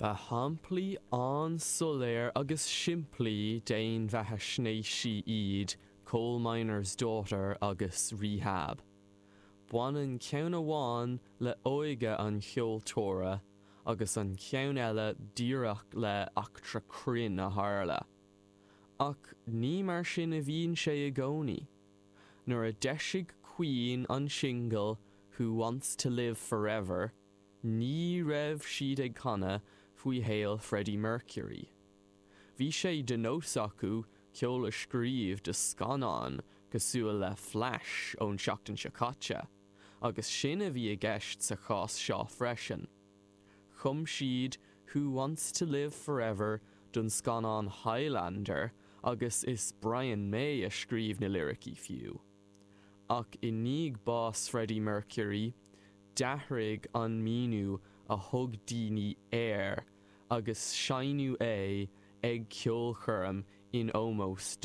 Ba shamplaí an-soiléir agus simplí d'fhéinbheathaisnéisí iad Coal Miner's Daughter agus Rehab. Baineann ceann amháin le óige an cheoltóra agus an ceann eile díreach le eachtra cruinn a tharla. Ach ní mar sin a bhíonn sé i gcónaí. Nuair a d'eisigh Queen an singil Who Wants to Live Forever, ní raibh siad ag canadh faoi shaol Freddie Mercury. Bhí sé de nós acu ceol a scríobh do scannáin cosúil le Flash ón seachtain seo caite, agus sin a bhí i gceist sa chás seo freisin. Chum siad Who Wants to Live Forever don scannán Highlander agus is Brian May a scríobh na liricí fiú. Ach i ndiaidh bás Freddie Mercury, d'athraigh an míniú a thug daoine air agus seinneadh é ag ceolchoirm in ómós dó.